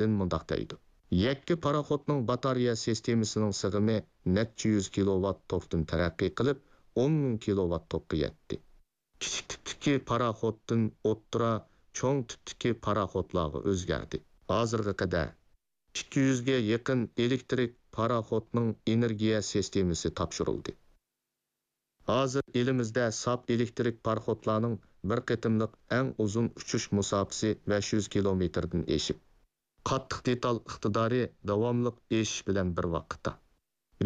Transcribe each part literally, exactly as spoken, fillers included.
لىن مۇنداق دەيدۇ: يەككە پاراخوتنىڭ باتارېيە سىستېمىسىنىڭ سىغىمى نەچچە يۈز كىلوۋات توكتىن تەرەققىي قىلىپ، ئون مىڭ كىلوۋات توكقا يەتتى. كىچىك تىپتىكى پاراخوتتىن ئوتتۇرا، چوڭ تىپتىكى پاراخوتلارغا ئۆزگەردى. ھازىرغا قەدەر ئىككى يۈزگە يېقىن ئېلېكتىرىك پاراخوتنىڭ ئېنېرگىيە سىستېمىسى تاپشۇرۇلدى. ھازىر ئېلىمىزدە ساپ ئېلېكتىرىك پاراخوتلارنىڭ بىر قېتىملىق ئەڭ ئۇزۇن ئۇچۇش مۇساپىسى بەش يۈز كىلومېتىردىن ئېشىپ، قاتتىق دېتال ئىقتىدارى داۋاملىق ئېشىش بىلەن بىر ۋاقىتتا،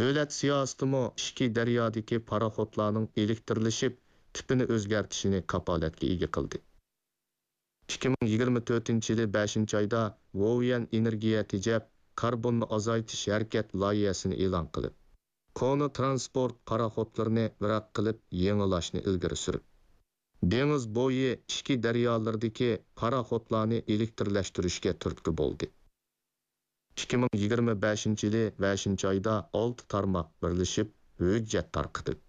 دۆلەت سىياسىتىمۇ ئىچكى دەريادىكى پاراخوتلارنىڭ ئېلېكتىرلىشىپ، تىپىنى ئۆزگەرتىشىنى كاپالەتكە ئىگە قىلدى. ئىككى مىڭ يىگىرمە تۆتىنچى يىلى بەشىنچى ئايدا ۋوۋيەن ئېنېرگىيە تېجەپ، كاربوننى ئازايتىش ھەرىكەت لايىھەسىنى ئېلان قىلىپ، كونا تىرانسپورت پاراخوتلىرىنى ۋىراق قىلىپ يېڭىلاشنى ئىلگىرى سۈرۈپ، دېڭىز بويى ئىچكى دەريالىرىدىكى پاراخوتلارنى ئېلېكتىرلەشتۈرۈشكە تۈرتكە بولدى. ئىككى مىڭ يىگىرمە بەشىنچى يىلى بەشىنچى ئايدا ئالتە تارماق بىرلىشىپ ھۆججەت تارقىتىپ،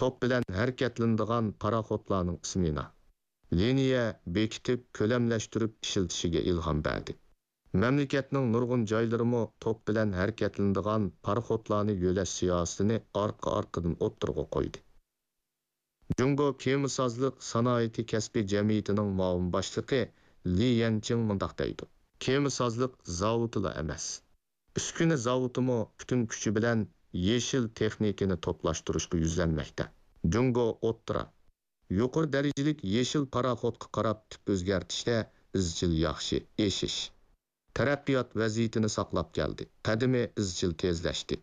توك بىلەن ھەرىكەتلىنىدىغان پاراخوتلارنىڭ سمېنا، لىنىيە بېكىتىپ، كۆلەملەشتۈرۈپ ئىشلىتىشىگە ئىلھام بەردى. مەملىكەتنىڭ نۇرغۇن جايلىرىمۇ توك بىلەن ھەرىكەتلىنىدىغان پاراخوتلارنى يۆلەش سىياسىتىنى ئارقا-ئارقىدىن ئوتتۇرىغا قويدى. جۇڭگو كېمىسازلىق سانائىتى كەسپىي جەمئىيىتىنىڭ مۇئاۋىن باشلىقى لى يەنچىڭ مۇنداق دەيدۇ: كېمىسازلىق زاۋۇتىلا ئەمەس، ئۈسكۈنە زاۋۇتىمۇ پۈتۈن كۈچى بىلەن يېشىل تېخنىكىنى توپلاشتۇرۇشقا يۈزلەنمەكتە. جۇڭگو ئوتتۇرا، يۇقىرى دەرىجىلىك يېشىل پاراخوتقا قاراپ تىپ ئۆزگەرتىشتە ئىزچىل ياخشى ئېشىش، تەرەققىيات ۋەزىيىتىنى ساقلاپ كەلدى، قەدىمى ئىزچىل تېزلەشتى.